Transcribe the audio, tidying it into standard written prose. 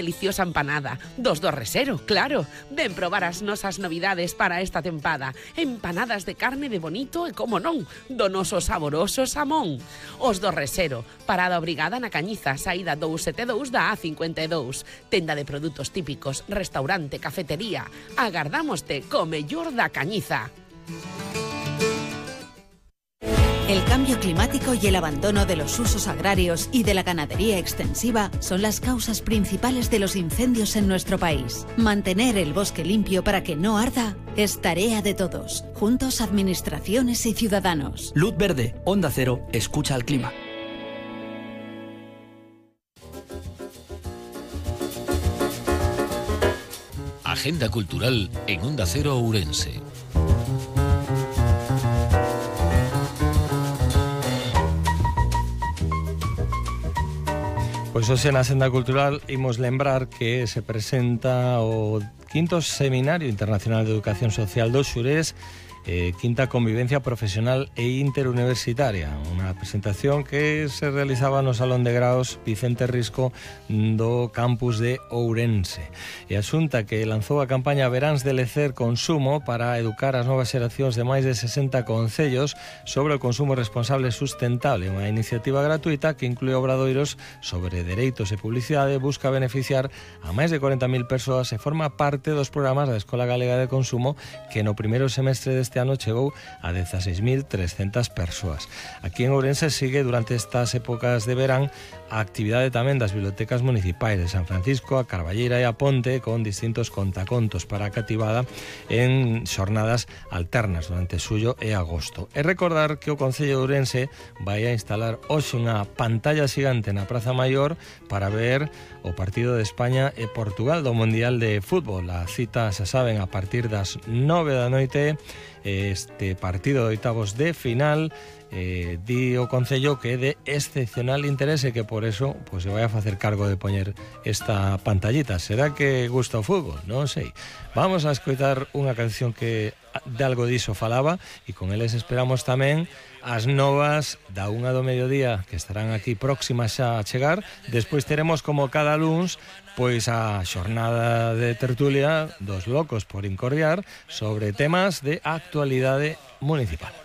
deliciosa empanada. Dos do Resero, claro. Ven probar as nosas novidades para esta tempada. Empanadas de carne de bonito e, como non, do noso saboroso xamón. Os do Resero, parada obrigada na Cañiza, saída 272 da A52. Tenda de produtos típicos, restaurante, cafetería. Agardámoste co mellor da Cañiza. El cambio climático y el abandono de los usos agrarios y de la ganadería extensiva son las causas principales de los incendios en nuestro país. Mantener el bosque limpio para que no arda es tarea de todos, juntos administraciones y ciudadanos. Luz verde, Onda Cero, escucha al clima. Agenda cultural en Onda Cero Ourense. Pois hoxe na Senda Cultural imos lembrar que se presenta o quinto Seminario Internacional de Educación Social do Xurés, quinta convivencia profesional e interuniversitaria, unha presentación que se realizaba no Salón de Graos Vicente Risco do campus de Ourense. E a Xunta que lanzou a campaña Veráns de Lecer Consumo para educar as novas xeracións de máis de 60 concellos sobre o consumo responsable e sustentable, unha iniciativa gratuita que inclúe obradoiros sobre dereitos e publicidade, busca beneficiar a máis de 40.000 persoas e forma parte dos programas da Escola Galega de Consumo, que no primeiro semestre deste ano chegou a 16.300 persoas. Aquí en Ourense sigue durante estas épocas de verán a actividade tamén das bibliotecas municipais de San Francisco, a Carballeira e a Ponte, con distintos contacontos para a cativada en xornadas alternas durante xullo e agosto. E recordar que o Concello de Ourense vai a instalar hoxe unha pantalla xigante na Praza Maior para ver o partido de España e Portugal do Mundial de Fútbol. A cita, xa saben, a partir das 9 da noite, este partido de oitavos de final. Di o Concello que é de excepcional interese, que por eso pues, se vai a facer cargo de poñer esta pantallita. Será que gusta o fútbol? Non sei. Vamos a escoitar unha canción que de algo diso falaba, e con eles esperamos tamén as novas da 1 do mediodía, que estarán aquí próximas xa a chegar. Despois teremos, como cada luns, pois a xornada de tertulia dos locos por incordiar sobre temas de actualidade municipal.